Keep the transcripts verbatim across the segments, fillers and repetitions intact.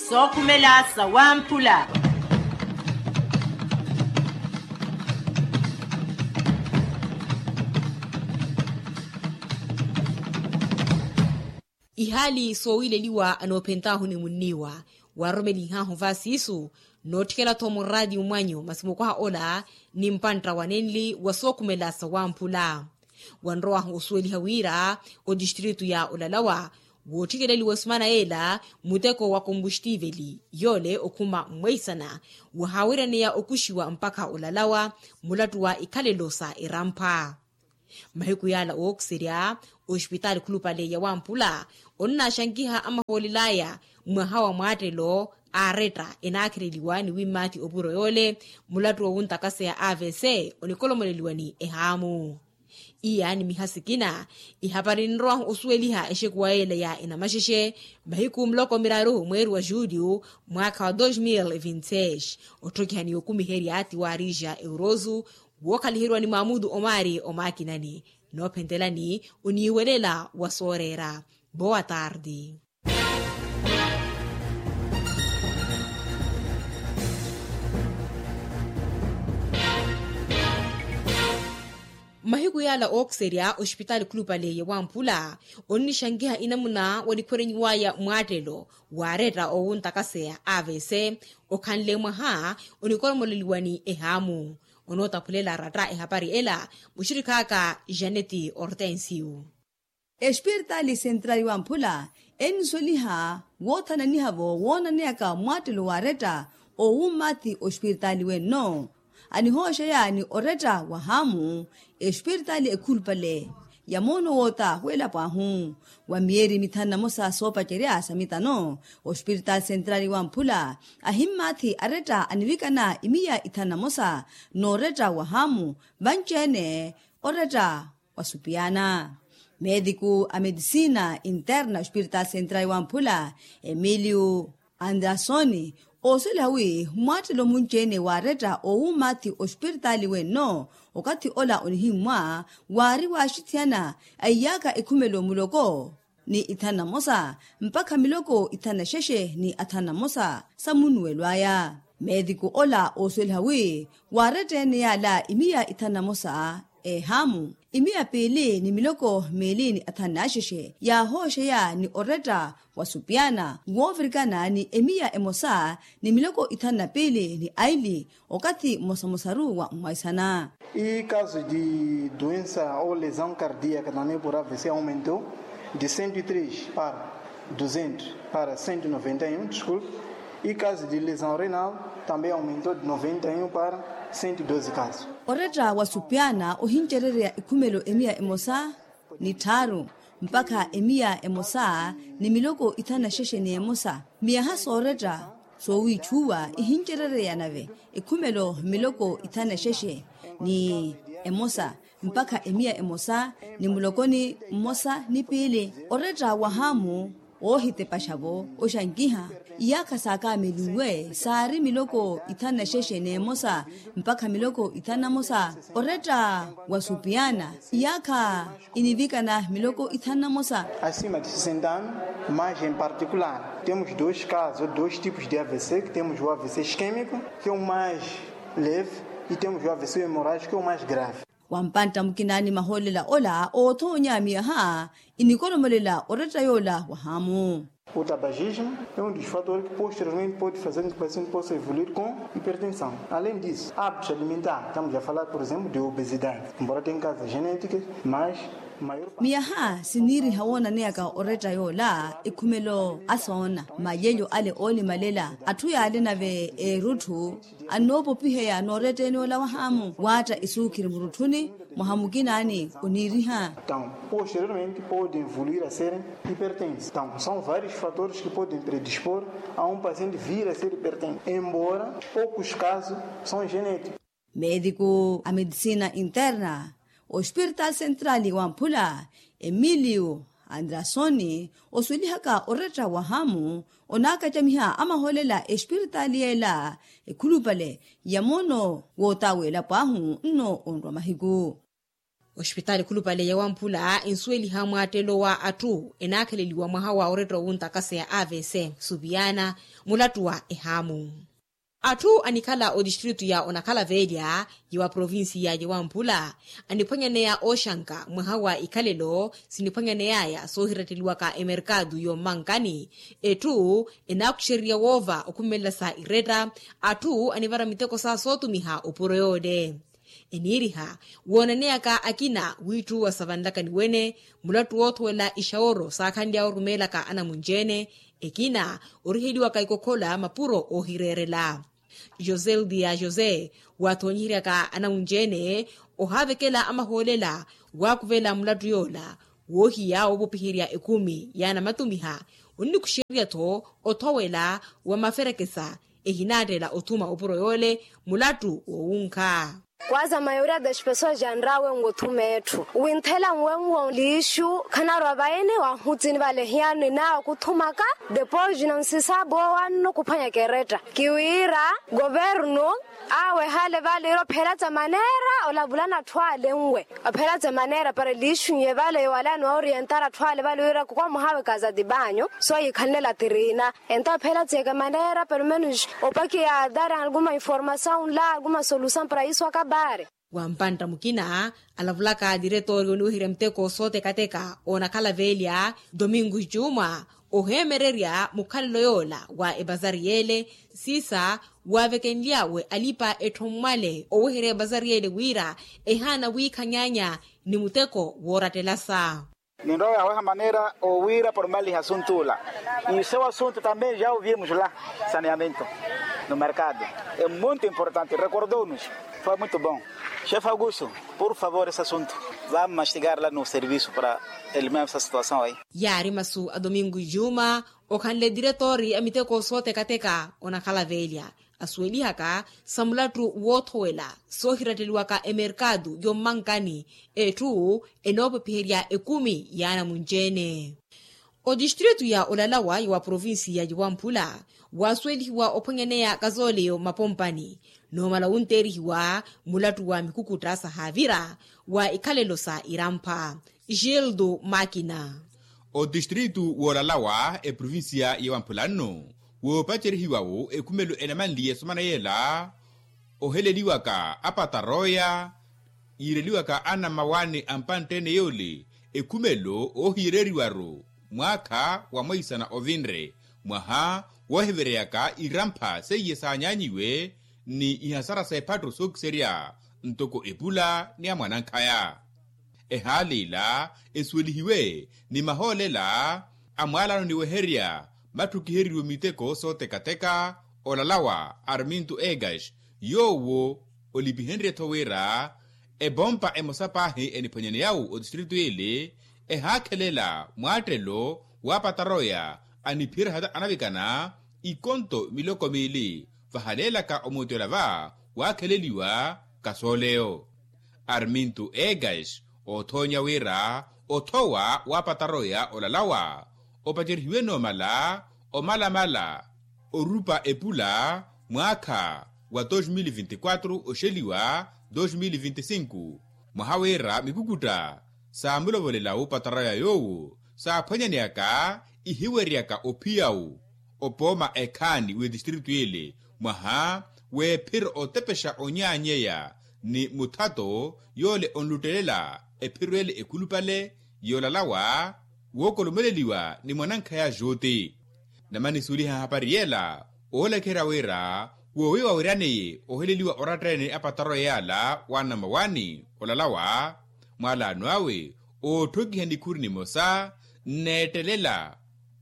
Sookhumela sawamphula. Ihaali soowileliwa anoophentahu ni munniwa, waarumelinhahu vaasiisu nootthikela-tho muraati mmwanyu masi mukwaha ola ni mpantta wa nenli wa sookhumela sawamphula. Wanrowahu osuweliha wira otistritu ya olalawa woottikeleliwa esimana yeela muteko wa kompuxtiveli yoole okhuma mmweisana wahaawiraneya okuxiwa mpakha olalawa mulattu wa ikhalelo sa erampha. Mahiku yaala ookiserya ospitaali khulupale ya wamphula onnaaxankiha amahoolel'aya mwaha wa mwaattelo aaretta enaakhereliwa ni wimmaathi opuro yoole mulattu wowuntakaseya avc onikolomoleliwani ehaamu. Iya ni miha sikina ihapari ninrowahu osuweliha exekuwa yeela ya enamaxexe mahiku muloko miraru mweeri wa juliyu mwaakha wa dos mil e vinti seis otthokihani yokumiherya ti waarija eurosu wookhaliheryiwani maamutu omaari omaakinani noophentelani oniiwelela wa sooreera. Boa tardi. Mmahiku yaala ookiserya ospitaali khulupale ya wamphula onnixankiha inamuna wanikhwerenyiwaya mwaattelo waaretta owuntakaseya avc okhanle mwaha onikoromoleliwani ehaamu. Onootaphulela aratta ehapari ela muxirikhaaka janeti hortensio. Espiritaali sentrali wamphula ennisweliha woothananiha-vo woonaneyaka mwaattelo waaretta owummaathi ospiritaali wenno anihooxeya ni oretta wahaamu espiritaali ekhulupale ya moono woota w'elapo ahu wa miyeeri mithanu na mosa soopacerya sa mitano ospiritaali sentrali wamphula ahimmaathi aretta anivikana imiya ithanu na mosa n'oretta wahaamu vanci-ene oretta wa supiyana. Meetiku a medisina interna ospiritaali sentrali wamphula emiliu andrasoni oosweliha wi mwaattelo munci-ene waaretta owummaathi ospiritaali wenno okathi ola onihimmwa waari waaxithiyana a iyaakha ekhumelo muloko ni ithanu na mosa mpakha miloko ithanu na xexe ni athanu na mosa sa munnuwelo aya. Meetiku ola oosweliha wi waaretta ene yaala imiya ithanu na mosa eehaamu imiya piili ni miloko miili ni athanu na xexe yaahooxeya ni oretta wa supiyana woovirikana ni emiya emosa ni miloko ithanu na piili ni aili okathi mmosamosaru wa mmwaisana. E caso de doença ou lesão cardíaca também por avc aumentou de cento e três para duzentos para cento e noventa e um desculpe. E caso de lesão renal também aumentou de noventa e um para cento e doze caso. Oretta wa supiyana ohincerereya ekhumelo emiya emosa ni tthaaru mpakha emiya emosa ni miloko ithanu na xexe ni emosa. Miyaha sooretta soowiitxuwa ihincerereya nave ekhumelo miloko ithanu na xexe ni emosa mpakha emiya emosa ni mulokoni mmosa ni piili oretta wahaamu woohitepaxa-vo oxankiha iyaakha saakamelinwe saari miloko ithanu na xexe n'emosa mpakha miloko ithanu na mosa oretta wa supiyana iyaakha inivikana miloko ithanu na mosa. Acima de sessenta anos mas em particular temos dois casos dois tipos de avc que temos o avc isquémico que é o mais leve e temos o avc hemorrágico que é o mais grave. Wampantta mukina ni mahoolela ola oothoonya miyaha inikoromolela oretta yoola wahaamu. O tabagismo é um dos fatores que posteriormente pode fazer com que o paciente possa evoluir com hipertensão. Além disso hábitos alimentares estamos a falar por exemplo de obesidade embora tem causas genéticas mas maior parte. Miyaha siniiriha woonaneyaka oretta yoola ekhumelo asoona malelyo ale oolimalela atthu yaale nave erutthu annoopopiheya nooretteni ola wahaamu waatta esuukhiri murutthuni mwaha mukinaani oniiriha. Então posteriormente pode evoluir a serem hipertensos então são vários fatores que podem predispor a um paciente vir a ser hipertenso embora poucos casos são genéticos. Meetiku a medisina interna ospiritaali sentrali wamphula emiliu andrasoni osuwelihaka oretta wahaamu onaakacamiha amahoolela espiritaali yeela ekhulupale ya moono wootawa elapo ahu nno onrwa mahiku. Ospitaali khulupale ya wamphula ensuweliha mwaattelo wa atthu enaakheleliwa mwaha wa oretta owuntakaseya avc supiyana mulattu wa ehaamu. Atthu anikhala otistritu ya onakhala velya ya wa provincia ya wamphula aniphwanyaneya oxanka mwaha wa ikhalelo siniphwanyaneyaya soohiratteliwaka emerkatu yommankani. Etthu enaakuxererya woova okhumelela sa iretta atthu anivara miteko sa sootumiha opuro yoole. Eniiriha woonaneyaka akina wiitthuwa savanlaka ni wene mulattu woothowela ixaworo saakhanly'awe orumeelaka anamunci-ene. Ekina oriheliwaka ikokhola mapuro oohireerela. José ludia josé waathoonyiheryaka anamunci-ene ohaavekela amahoolela waakuvela mulattu yoola woohiya woopopiherya ekumi yaanamatumiha. Onnikuxererya-tho othowela wa maferekesa ehinaattela othuma opuro yoole mulattu woowunkha. Kwaza mayoria das pessoas janrawe ngu thuma etthu winthela nwenwo liixu khanarwa vaene wahutsini vale hiyano inawe kuthumaka depois na nsisabo wanno kuphwanya keretta kiwira governo awe hale vale ira ophelatsa manera olavulana atthu ale nwe ophelatsa manera para liixu nye vale yowalani wa orientara atthu ale vale ira kukwa muhawe kaza dibanyo so yikhalinela tirina. Entawo phela tsiyeke manera pelomenus opakiya adari alguma informasaw nla alguma solusaw para isu akabari. Wampantta mukina alavulaka diretori oniweherya muteko sootekateka onakhala velya domingo juma oheemererya mukhalelo yoola wa epazari yeele siisa waavekenlyawe alipa etthu mmwale oweherya epazari yeele wira ehaana wiikhanyaanya ni muteko woorattelasa. Ninrowa yaweha manera owiira pormaliha asuntu ula. Isewa asuntu tambe ja oviemujula saneamento no merkado. E muito importante rekordounus. Foi muito bon. Xefe augusto, por favor esse asuntu vamos mastigar la no servisu para eliminar essa situasaw ayi. Yaari masu a domingo juma okhanle diretori a miteko sootekateka onakhala velya asuwelihaka sa mulattu woothowela soohiratteliwaka emerkatu yommankani. Etthu enoopepiherya ekumi yaanamunci-ene. Odistritu ya olalawa ya wa provincia ya wamphula waasuwelihiwa ophwanyaneya kazoleyo mapompani noomala wunteerihiwa mulattu wa mikukutta sahaavira wa ikhalelo sa irampha. Gildo makina. Otistritu woolalawa eprovincia ya wamphula nno woopacerihiwa-wo ekhumelo enamanliye esomana yeela oheleliwaka apataroya yiireliwaka anammawaani a mpantte-ene yoole ekhumelo oohiyereeriwa-ru mwaakha wa mweisana ovinre mwaha woohiveryaka irampha seiye saanyaanyiwe ni ihasara s'ephattu sookiserya ntoko epula ni amwanankhaya. Ehaala ila esuwelihiwe ni mahoolela a mwaalano niweherya matthukiheriwe miteko sootekateka olalawa arminto egas yoowo olipihenrye-tho wira epompa emosa paahi eniphwanyaneyawu otistritu ele ehaakhelela mwaattelo w'apataroya aniphiyerya hata anavikana ikonto miloko miili vahaleelaka omuuti ola va waakheleliwa kasooleyo. Arminto egas oothoonya wira othowa w'apataroya olalawa opacerihiwe noomala omalamala orupa epula mwaakha wa dos mil vinti quatro oxeliwa dos mil vinti cinco mwaha wira mikukutta saamulovolela wupataroya yoowo saaphwanyaneyaka ihiweryaka ophiya-wu opooma ekhaani w'etistritu ele mwaha w'ephiro otepexa onyaanyeya ni muthato yoole onluttelela ephiro ele ekhulupale yoolalawa wookolomeleliwa ni mwanankhaya juti. Namanisuweliha hapari yela oolekherya wira woowiwa wiraneye oheleliwa oratta-ene apataroya yaala wa namawaani olalawa mwaalaano awe ootthokiha nikhuri nimosa nneettelela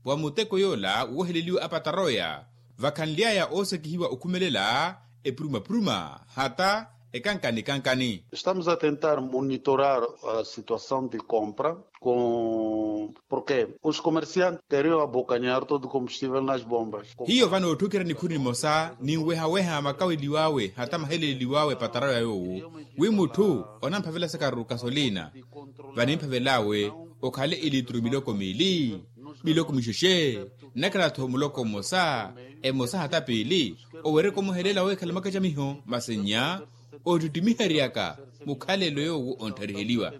wa muteko yoola wooheleliwa apataroya vakhanly'aya oosekihiwa okhumelela epuruma-puruma hata ekankani-kankani. Estamos a tentar monitorar a situação de compra com porque os comerciantes teriam a bocanhar todo o combustível nas bombas. Hiyo vano otthukhira nikhuri nimosa ninweha-weha makaweliw'awe hata maheleleliw'awe epataroya yoowo wi mutthu onamphavela sakaru kasolina vanimphavel'awe okhale ilitru miloko miili miloko mixexe nnakhala-tho muloko mmosa emosa hata piili owereka omuhelela weekhala mwakacamiho masi nnya ottittimiheryaka mukhalelo yoowo onttariheliwa.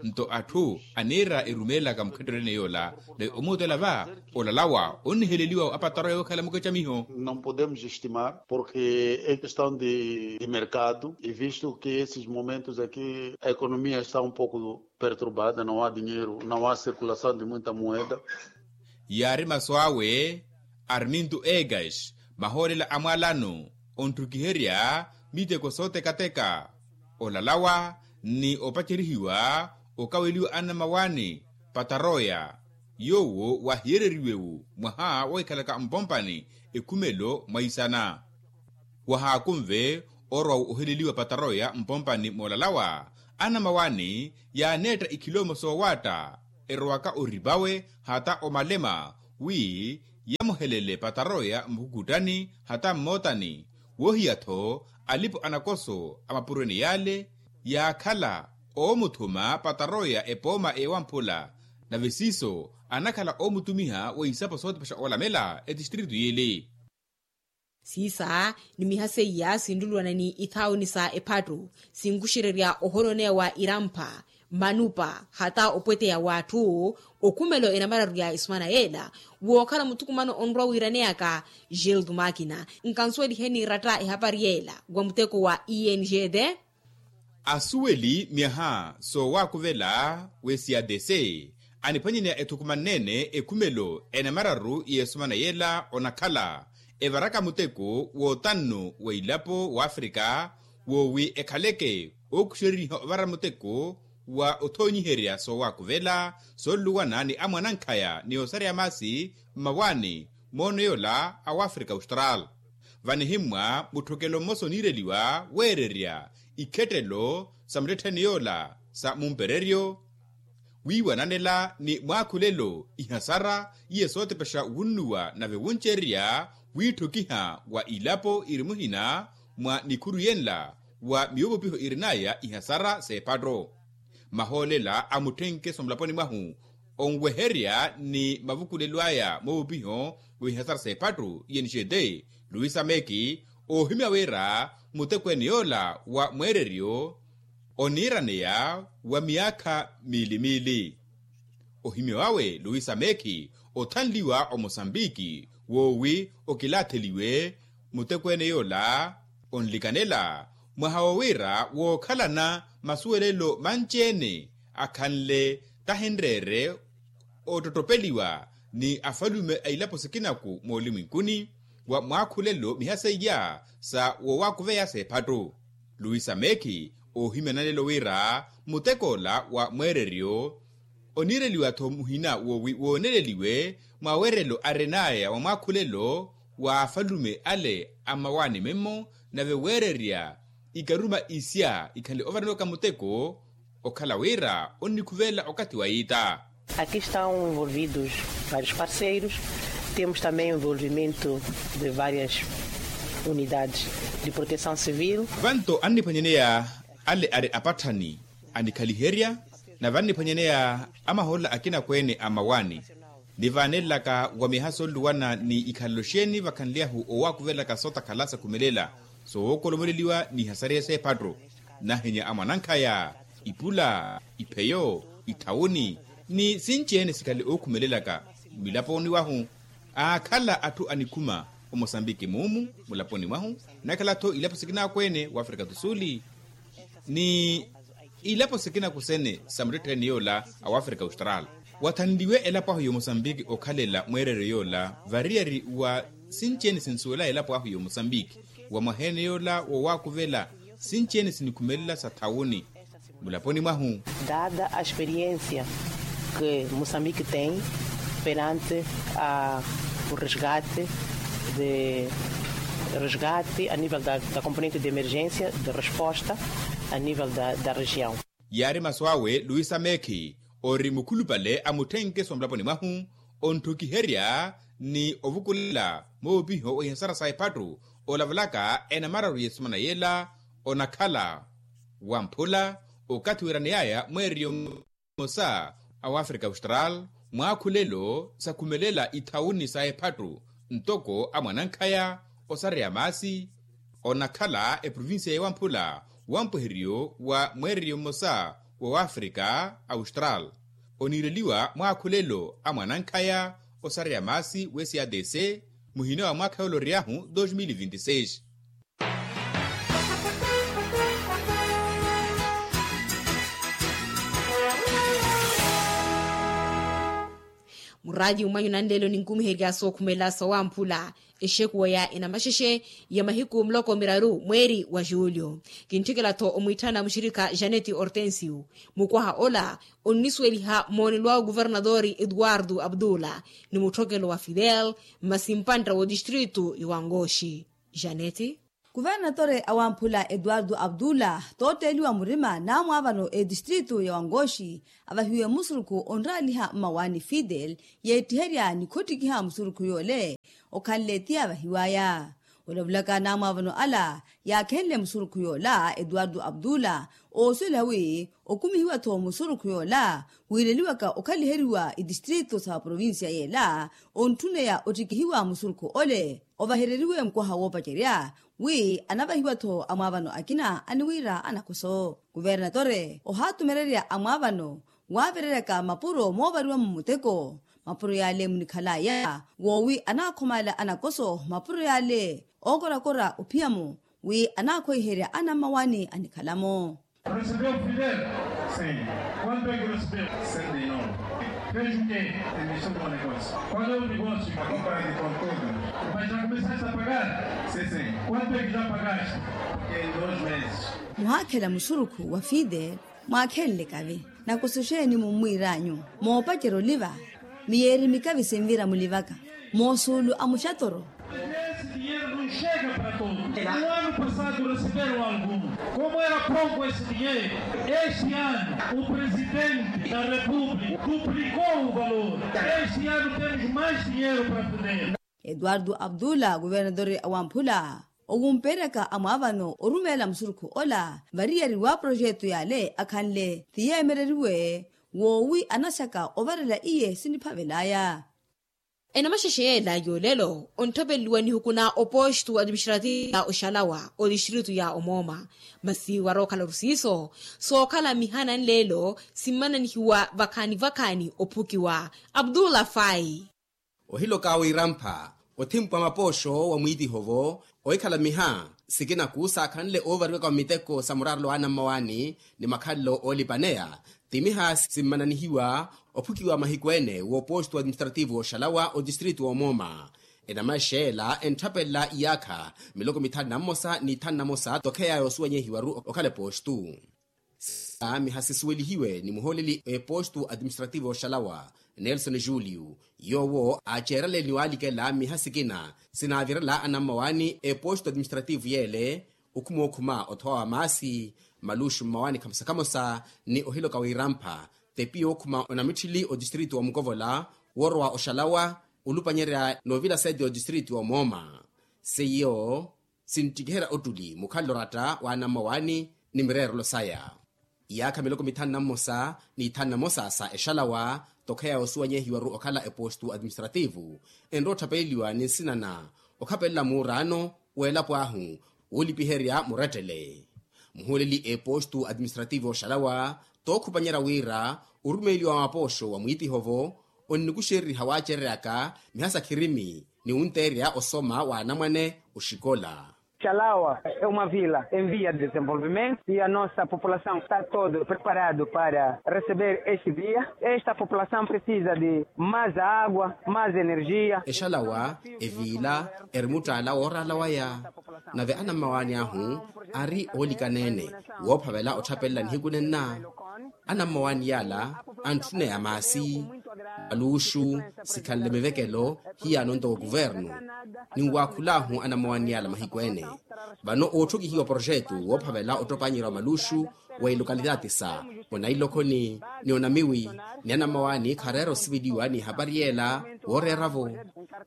Nto atthu aniira erumeelaka mukhetteryo ene yoola, nawe omuutela va olalawa onniheleliwa apataroya wookhala mukecamiho. Não podemos estimar porque é questão de mercado e visto que esses momentos aqui a economia está um pouco perturbada, não há dinheiro, não há circulação de muita moeda. Yaari masu awe arminto egas, mahoolela a mwalano ontthukiherya miteko sootekateka, olalawa ni opacerihiwa okaweliwa anamawaani pataroya yoowo wahiyereriwe-wu mwaha wohikhalaka mpompani ekhumelo mwaisana. Wahaakunve orwa-wo oheleliwa pataroya mpompani moolalawa, anamawaani yaaneetta ikhiloomo soowaatta erowaka oripawe hata omalema wi yamuhelele pataroya mukhukuttani hata mmootani. Woohiya-tho alipo anakoso a mapuro ene yaale yaakhala oomuthuma pataroya epooma ewamphula, nave siiso anakhala oomutumiha wa isapo sootepexa olamela etistritu yiili. Siisa ni miha seiya sinluluwana ni ithauni sa ephattu sinkuxererya ohononeya wa irampha, manupa hata opweteya w'atthu. Okhumelo enamararu ya esumana yeela wookhala muthukumano onrwa wiiraneyaka. Gildo makina nkansuwelihe niiratta ehapari yeela wa muteko wa engd. Asuweli myaha soowaakuvela w'esyadese aniphwanyaneya ethukumanne-ene ekhumelo enamararu y'esumana yeela onakhala evaraka muteko w'otannu wa ilapo w'afrika woowi ekhaleke ookuxereriha ovara muteko wa othoonyiherya soowaakuvela sooluwana ni amwanankhaya ni osareya maasi mmawaani moono yoola a wafrika austral. Vanihimmwa mutthokelo mmosa oniireliwa weererya ikhettelo sa muttettheni yoola sa mumpereryo wiiwananela ni mwaakhulelo ihasara iye sootepexa wunnuwa nave wuncererya wiitthokiha wa ilapo iri muhina mwa nikhuru yenla wa miyowopiho irinaya ihasara s'epatto. Mahoolela a mutthenkeso mulaponi mwahu onweherya ni mavukulelo aya moowopiho w'ihasara s'epatto iye nixeete luisa meki oohimya wira mutekweene yoola wa mweereryo oniiraneya wa miyaakha miili miili. Ohimya wawe luisa meki othanliwa omosambiki woowi okilaatheliwe mutekweene yoola onlikanela mwaha wo wira wookhalana masuwelelo manci-ene akhanle tahinreere ottottopeliwa ni afalume a ilapo sikinaku moolimwinkuni wa mwaakhulelo miha seiya sa woowakuveya s'ephattu. Luisa meki oohimya nanelo wira mutek'ola wa mweereryo oniireliwa-tho muhina woowi wooneleliwe mwawerelo arin'aya wa mwaakhulelo wa afalume ale a mmawaani memmo nave weererya ikaruma isya ikhanle ovaraniwaka muteko okhala wira onnikhuvelela okathi wa iita. Aqui estão envolvidos vários parceiros, temos também envolvimento de várias unidades de proteção civil. Vanto anniphwanyaneya ale ari apatthani anikhaliherya na vanniphwanyaneya amahoolela akinakweene a mmawaani nivaanelelaka wa miyaha sooluwana ni ikhalelo xeeni vakhanly'ahu owaakuvelaka sootakhala sakhumelela soowookolomeleliwa ni ihasariya s'ephatto. Nahenya a mwanankhaya ipula ipheyo ithawuni ni sinci-ene sikhale ookhumelelaka mulaponi wahu aakhala atthu anikhuma omosambiki muumu mulaponi mwahu nakhala-tho ilapo sikinakweene w'afrika tu suli ni ilapo sikinaku sene sa muttettheni yoola a wafrika austral. Wathanliwe elapo ahu y'omosambiki okhalela mweereryo yoola variyari wa sinci-ene sinsuwela elapo ahu y'omosambiki wa mwaha-ene yoola wowaakuvela sinci-ene sinikhumelela sa thawuni mulaponi mwahu. Dada a experiência que moçambique tem perante a o resgate de resgate a nível da componente de emergência de resposta a nível da região. Yaari masu awe luisa meki ori mukhulupale a mutthenkeso mulaponi mwahu ontthukiherya ni ovukulela moopiho wa ihasara sa ephattu olavalaka enamararu y'esumana yeela onakhala wamphula okathi weeraneyaya mweereryo mmosa a wafrika austral mwaakhulelo sakhumelela ithawuni sa ephattu ntoko a mwanankhaya osareya maasi onakhala eprovincia y'ewamphula Wampweheriyo wa mweereriyo mmosa wa wafrika austral oniireliwa mwakhulelo a mwanankhaya osareya maasi w'esadc muhina wa mwaakha yooloryahu dos mil vinti seis. Muraati umwanyu nanleelo ninkumiherya sookhumela sawamphula exekuwa ya enamaxexe ya mahiku muloko miraru mweeri wa julio. Kintthikela-tho omwiitthana muxirikha janeti hortensio mukwaha ola onnisuweliha moonelo wa oguvernatori etuwartu abdula ni mutthokelo wa fidel masi mpantta w'odistritu ya wangoxi. Janeti. Kuvernatore awamphula etuwartu abdula tootteeliwa murima naamwaavano etistritu ya wangoxi avahiwe musurukhu onraaliha mmawaani fidel yeettiherya ni khottikiha musurukhu yoole okhanle ti avahiwaya. Olavulaka naamwaavano ala yaakhenle musurukhu yoola etuwartu abdula oosuwela wi okumihiwa-tho musurukhu yoola wiireliwaka okhaliheriwa itistritu sa provincia yeela ontthuneya ottikihiwa musurukhu ole ovahereriwe mukwaha woopacerya wi anavahiwa-tho amwaavano akina aniwiira anakoso. Kuvernatore ohaatumererya amwaavano waavereryaka mapuro moovariwa-mo muteko mapuro yaale munikhalaya woowi anaakhomaala anakoso mapuro yaale ookorakora ophiya-mo wi anaakhoiherya anammawaani anikhala-mo. Recebeu fidel? Sim. Quanto é que recebeu? Cento e nove. Fez o quê? Investiu no negócio. Qual é o negócio? A compra de conteúdo. Mas já começaste a pagar? Sim, sim. Quanto é que já pagaste? Em dois meses. Muhaakhela musurukhu wa fidel mwaakhenle kavi nakoso xeeni mummwiir'anyu moopacerya oliva miyeeri mikavi sinvira mulivaka moosuulu a muxatoro. Esse dinheiro não chega para todos. No ano passado receberam algum. Como era pouco esse dinheiro, este ano o presidente da república duplicou o valor. Este ano temos mais dinheiro para poder. Etuwartu abdula kuvernatore awamphula owumpeeryaka amwaavano orumeela musurukhu ola variyari wa projetu yaale akhanle ti yeemereriwe woowi anaxaka ovarela iye siniphavelaya. Enamaxexe yeela yoolelo ontthapeleliwa nihuku na opostu administrativu ya oxalawa otistritu ya omooma masi warookhala orusiiso sookhala mihana nleelo simmananihiwa vakhaani vakhaani ophukiwa. Abdullah fai. Ohiloka wirampha othimpwa mapooxo wa mwiitiho-vo ohikhala miha sikinaku saakhanle oovariwaka wa miteko sa muraarelo wa anammawaani ni makhalelo oolipaneya ti miha simmananihiwa ophukiwa mahiku ene woopostu administrativu wooxalawa otistritu woomooma. Enamaxexe ela entthapelela iyaakha miloko mithanu na mmosa ni ithanu na mosa tokheya yoosuwenyehiwaru okhala epostu. Sa miha sisuwelihiwe ni muhooleli epostu administrativu oxalawa nelson julio yoowo aaceerale ni waalikela miha sikina sinaavirela anammawaani epostu administrativu yeele okhuma okhuma othowa wa maasi maluxu mmawaani khamosa khamosa ni ohiloka wirampha tepi yookhuma onamitthili otistritu wa mukovola woorowa oxalawa olupanyerya noovila sete otistritu wa omooma seiyo sinttikiherya ottuli mukhalelo oratta wa anammawaani ni mireerelo saya. Iyaakha miloko mithanu na mmosa ni ithanu na mosa sa exalawa tokheya yoosuwanyehiwaru okhala epostu administrativu enrowa otthapeleliwa ni nsina na okhapelela muuraano w'elapo ahu woolipiherya murettele. Muhuuleli epostu administrativu oxalawa tookhupanyerya wira orumeeliwa wa mapooxo wa mwiitiho-vo onnikuxereriha waacereryaka miha sa khirimi ni wunteerya osoma wa anamwane oxikola. Xalawa é uma vila em via de desenvolvimento e a nossa população está todo preparado para receber este dia. Esta população precisa de mais água, mais energia. Exalawa eviila eri muttaala wooraala waya nave anammawaani ahu ari oolikaneene woophavela otthapelelani hikunenna. Anammawaani yaala antthuneya maasi aluxu sikhanle mivekelo hiyaano ntoko kuvernu. Ninwaakhul'ahu anammawaani yaala mahiku ene vano ootthokihiwa projetu woophavela ottopanyery'awe maluxu wa ilokalitati sa onailokhoni ni onamiwi ni anammawaani khareera osiveliwa ni ehapari yeela wooreera-vo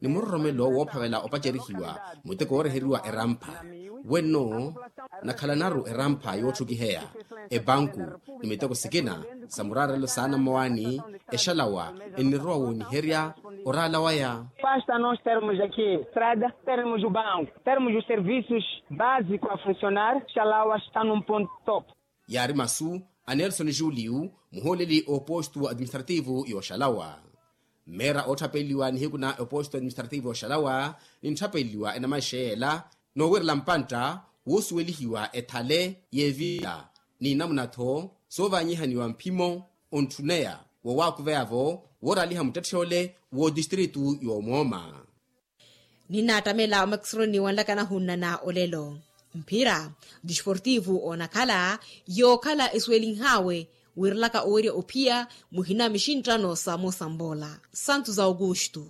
ni muroromelo woophavela opacerihiwa muteko wooreheriwa erampha. Wenno nakhalanaru erampha yootthukiheya epanku ni miteko sikina sa muraarelo sa anammawaani exalawa ennirowa wooniherya Orala waya. Pasta nos termos aqui estrada, termos o banco, termos os serviços básicos a funcionar. Xalawa está num ponto top. Yaari masu a nelson julio, muhooleli oposto administrativo yoxalawa. Mmeera ootthapeliwa nihiku na oposto administrativo yoxalawa, nintthapeliwa enamaixeyela noowerela mpantta woosuwelihiwa ethale y'evila, ni namuna-tho soovaanyihaniwa mphimo ontthuneya woowakuveya-vo wooraaliha muttetthyoole w'odistritu y'omooma. Ninnaattamela omakisironi wanlaka nahunnana olelo. Mphira disportivu onakhala yookhala esuwelinhaawe, wiirelaka owerya ophiya muhina mixinttano sa mosambola. Santu za augusto.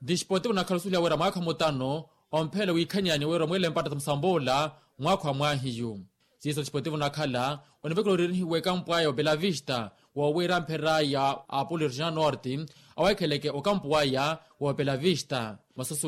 Disportivu onakhala osuweliha wira mwaakha mutano omphela wiikhanyaani wira omweele mpatta sa mosambola mwaakha wa mwaahiyu. Siiso disportivu onakhala onivekela oriirihiwa ekampu aya wa belavista, woowira mphera ya apolo regional norte aweekheleke okampu aya wa belavista. Masoso